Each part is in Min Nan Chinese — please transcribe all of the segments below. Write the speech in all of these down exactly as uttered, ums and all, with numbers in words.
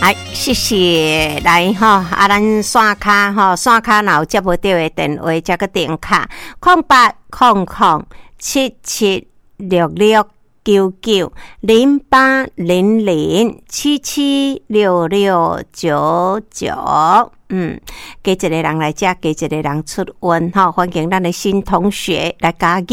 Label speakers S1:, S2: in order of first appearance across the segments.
S1: 來，謝謝來吼，啊，咱線跤吼，線跤若有接無著的電話，才閣電敲空八空空七七六六九九零八零零七七六六九九。嗯，加一個人來遮，加一個人出運吼，歡迎咱的新同學來加入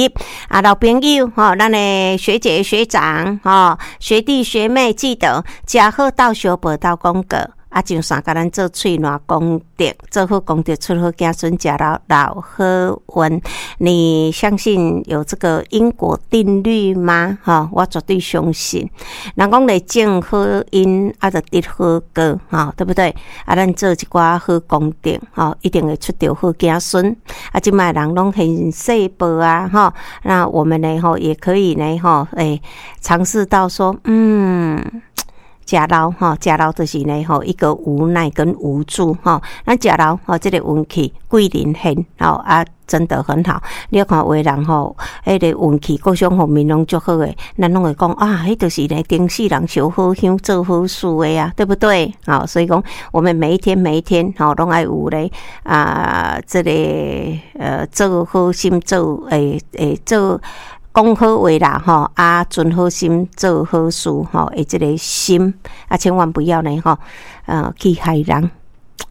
S1: 啊，老朋友吼，咱的學姐學長吼，學弟學妹記得食好鬥相報鬥廣告。啊，上線共咱做喙瀾功德，做好功德，出好子孫，食老老好運。你相信有這個因果定律嗎？吼，我絕對相信。人講咧種好因，啊，就得好果，吼，對不對？啊，咱做一寡好功德，吼，一定會出著好子孫。啊，這擺人攏現世報啊，吼，那我們呢，吼，也可以呢，吼，欸，嘗試到說，嗯。食老吼，食老就是呢吼，一個無奈跟無助吼。咱食老吼，這個運氣貴人現吼啊，真的很好。你看有的人吼，彼個運氣各種方面攏足好的，咱攏會講啊，彼就是呢，頂世人燒好香做好事的啊，對不對？好，所以講我們每一天每一天吼，攏愛有咧啊，這個呃，做好心做會會做。講好話啦，吼啊，存好心做好事，吼，的這個心啊，千萬不要呢，吼，呃，去害人，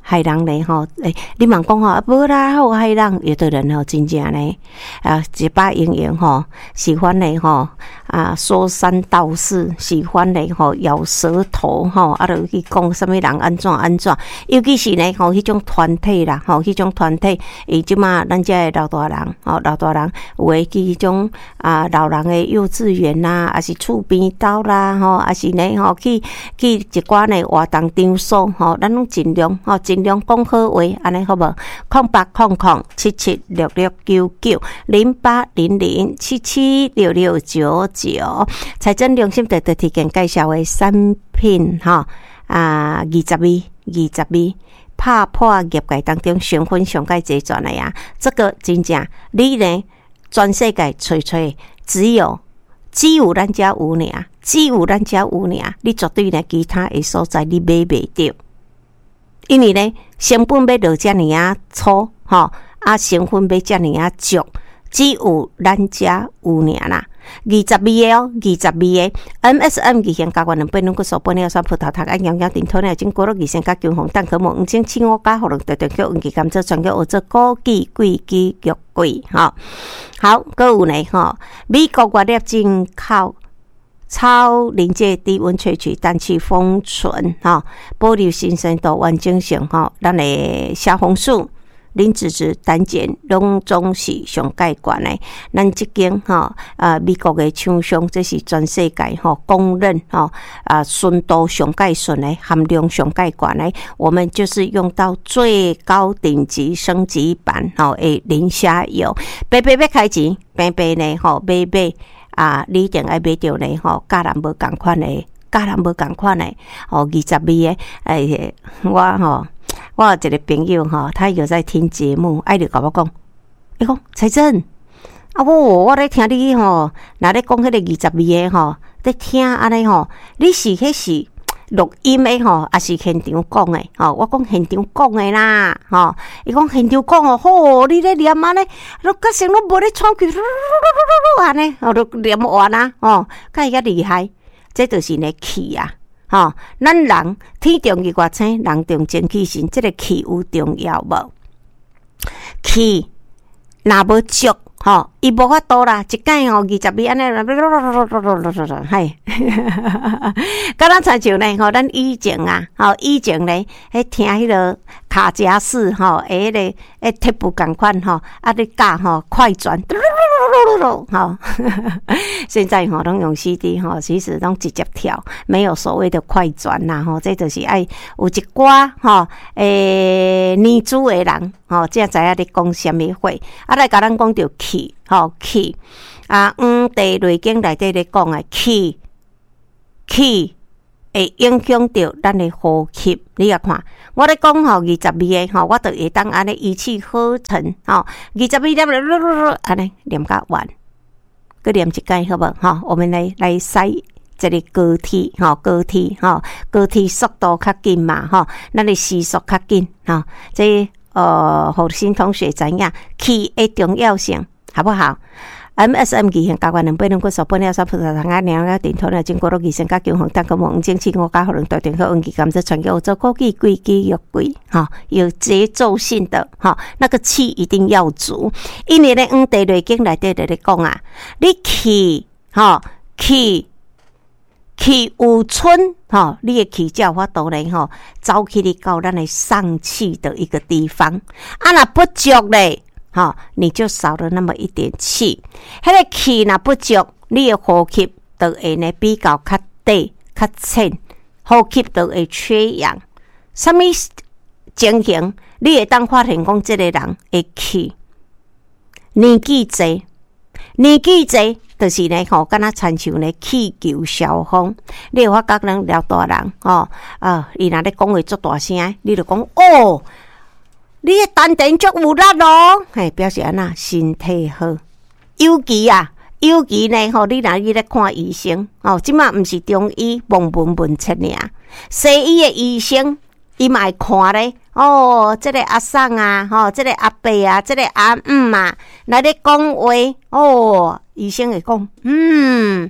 S1: 害人呢，吼，欸，你嘛講吼，無啦，好害人，有的人吼，真正呢，啊，一把用用吼，喜歡呢，吼，啊，說三道四，喜歡呢，吼，咬舌頭，吼，啊，就去講啥物人按怎按怎，尤其是呢，吼，彼種團體啦，吼，彼種團體，伊這馬咱遮的老大人，吼，老大人有的去彼種啊，老人的幼稚園啦，抑是厝邊兜啦，吼，抑是呢，吼，去去一寡呢活動場所，吼，咱攏盡量，吼，盡量講好話，按呢好無？空八空空七七六六九九零八零零七七六六九九，財政中心特特提供介紹的產品，吼啊，二十味，二十味，拍破業界當中成分上蓋齊全的呀！這個真正你呢，全世界揣揣只有只有咱遮有爾，只有咱遮有爾，你絕對呢其他的所在你買袂著。因為呢，成本欲落遮爾仔粗，吼啊，成分欲遮爾仔足，只有咱遮有爾啦。二十味的哦，二十味的 M S M 二型膠原蛋白、軟骨素、玻尿酸、葡萄糖胺、營養甜、糖尿菌、果肉二型加強紅蛋殼膜、黃精、青烏加、喉嚨特特叫黃芪甘草、全腳烏做枸杞、桂枝、玉桂，吼。好，閣有呢，吼，美國原料進口。超臨界低溫萃取，氮氣封存，吼，保留新鮮度、完整性，吼，咱的蝦紅素、磷脂質、膽鹼攏總是上蓋懸的。咱這間吼啊，美國的廠商，這是全世界吼公認吼啊，純度上蓋純的，含量上蓋懸的。我們就是用到最高頂級升級版吼的磷蝦油，白白欲開錢，平平呢吼買買。啊，你一定愛買著呢吼，佮人無仝款的，佮人無仝款的，吼，二十味的，哎，我吼，我有一個朋友吼，他有在聽節目，愛就共我講，伊講財政，啊，我我咧聽你吼，若咧講彼個二十味的吼，咧聽按呢吼，你是彼是錄音的吼，抑是現場講的？吼，我講現場講的啦，吼，伊講現場講哦，吼，你咧念按呢，攏較成攏無咧喘氣，按呢，吼，都念完啊，吼，較伊較厲害，這就是呢氣啊，吼，咱人天動日月星，人動精氣神，這個氣有重要無？氣若無足，吼，伊無法度啦，一擺吼二十味按呢，嘿，敢若親像呢吼，咱以前啊，吼以前呢，彼聽彼個卡夾式吼，彼个彼鐵布仝款吼，啊咧教吼快轉，吼，現在吼攏用 C D 吼，其實攏直接跳，沒有所謂的快轉啦吼，這就是愛有一寡吼，欸年資的人吼，才知影咧講啥物話。啊，來共咱講著氣，吼氣啊，《黃帝內經》內底咧講的氣，氣會影響著咱的呼吸。你來看，我咧講吼二十味的吼，我就會當按呢一氣呵成吼，二十味念按呢念甲完，閣念一擺好無？吼，我們來來篩這个高鐵吼，高鐵吼，高鐵速度較緊嘛吼，咱的時速較緊吼，這呃，予新同學知影氣的重要性，好不好？M S M 二型甲元兩八兩骨數玻尿酸葡萄糖胺兩個頂頭呢，經過了二型甲強紅，單個黃精氣五加可能大電荷溫氣甘蔗傳給我做枸杞桂枝肉桂，吼，有節奏性的，吼，那個氣一定要足。因為咧，黃帝內經內底就咧講啊，你氣，吼，氣氣有春，吼，你的氣才有法度咧，吼，走去你到咱的上氣的一個地方。啊，若不足咧，吼，你就少了那麼一點氣。彼個氣若不足，你的呼吸就會呢比較較短、較淺，呼吸就會缺氧。啥物情形？你會當發現講這个人的氣年紀濟，年紀濟，就是呢吼，敢若親像呢氣球消風。你會發覺咱老大人吼，啊，伊若咧講話足大聲，你就講哦，你的丹田足有力咯，嘿，表示按怎身體好。尤其啊，尤其呢吼，你若去咧看醫生，哦，這馬毋是中醫望聞問切爾，西醫的醫生伊嘛會看咧。哦，這个阿桑啊，吼，這个阿伯啊，這个阿姆啊，來咧講話，哦，醫生會講，嗯，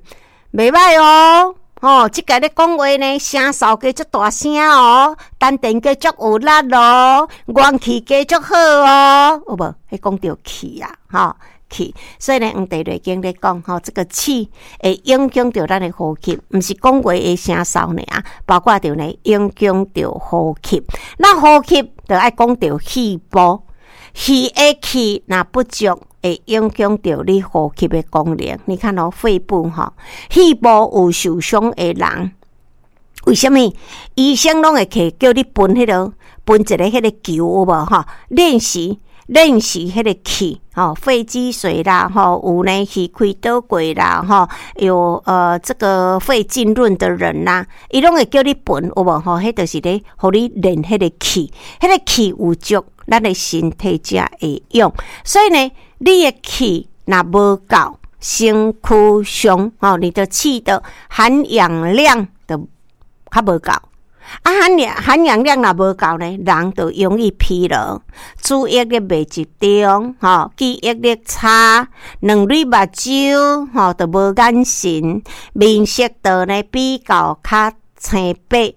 S1: 袂䆀哦。哦，這个咧講話呢，聲嗽加足大聲哦，丹田加足有力咯，元氣加足好哦，有無？彼講著氣啊，吼氣。所以呢，黃帝內經咧講，吼，這個氣會影響著咱的呼吸，毋是講話的聲嗽爾，包括著呢影響著呼吸。那呼吸就愛講著肺部，肺的氣若不足，會影響著你呼吸的功能。你看哦，肺部吼，肺部有受傷的人，為啥物？醫生攏會提叫你噴彼个，噴一个彼个球有無吼？練習練習彼个氣，吼，肺積水啦，吼，有呢氣開倒過啦，吼，有呃這個肺浸潤的人啦，伊攏會叫你噴有無吼？彼就是咧，予你練彼個氣，彼個氣有足，咱的身體才會用。所以呢，你的氣若無夠，身軀上吼，你的氣的含氧量就較無夠。啊，含氧含氧量若無夠呢，人就容易疲勞，注意力袂集中，吼，記憶力差，兩蕊目睭吼就無眼神，面色就呢比較較青白。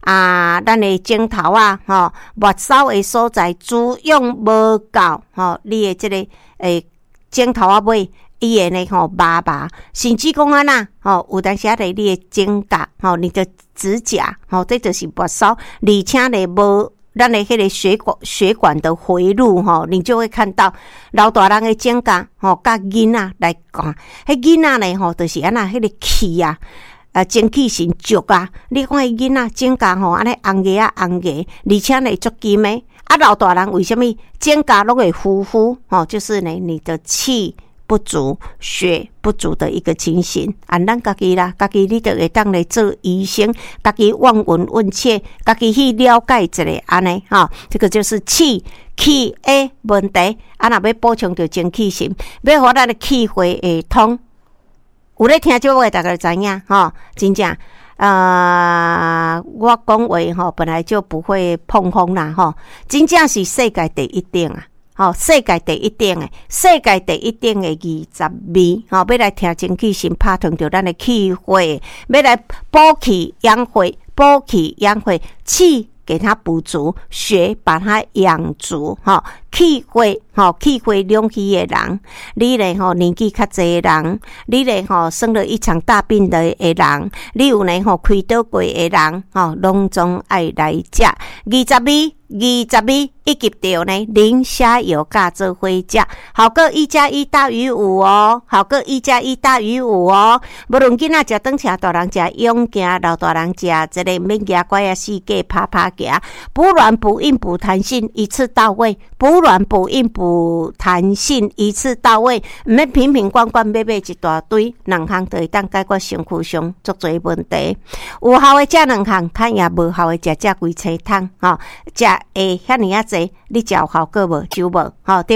S1: 啊，咱的指頭仔，吼，末梢的所在滋養無夠，吼，你的這个欸指頭仔尾，伊會呢吼麻麻，甚至講按怎吼，有當時仔咧你的指甲，吼，你的指甲，吼，這就是末梢，而且呢無咱的彼个血管血管的回路，吼，你就會看到老大人的指甲，吼，佮囡仔來看，彼囡仔呢，吼，就是按怎彼个氣啊。啊，精氣神足啊！你看彼囡仔指甲吼，按呢紅額仔紅額，而且呢足金的。啊，老大人為啥物指甲攏會糊糊？吼，就是呢，你的氣不足、血不足的一個情形。啊，咱家己啦，家己你就會當來做醫生，家己望聞問切，家己去了解一下按呢，吼，這個就是氣氣的問題。啊，若欲補充著精氣神，欲予咱的氣血會通。有咧聽這話，大家就知影吼，真正，呃，我講話吼，本來就不會膨風啦，吼，真正是世界第一等啊，吼，世界第一等的，世界第一等的二十二，吼，欲來聽精氣神拍通著咱的氣血，欲來補氣養血，補氣養血，氣給它補足，血把它養足，吼，氣血，吼，氣血兩虛的人，你咧吼年紀較濟的人，你咧吼生了一場大病的的人，你有咧吼開刀過的人，吼，攏總愛來食。二十二，二十二，以及著呢磷蝦油佮做伙食，效果一加一大於五哦，效果一加一大於五哦。無論囡仔食轉食，大人食勇健，老大人食這个免舉拐仔四界趴趴行，補軟補硬補彈性，一次到位。補軟補硬補彈性，一次到位，毋免瓶瓶罐罐買買一大堆，兩項就會當解決身軀上足濟問題。有效的食兩項，較贏無效的食食規青桶，吼，食會遐爾仔濟，你食有效果無？就無，吼。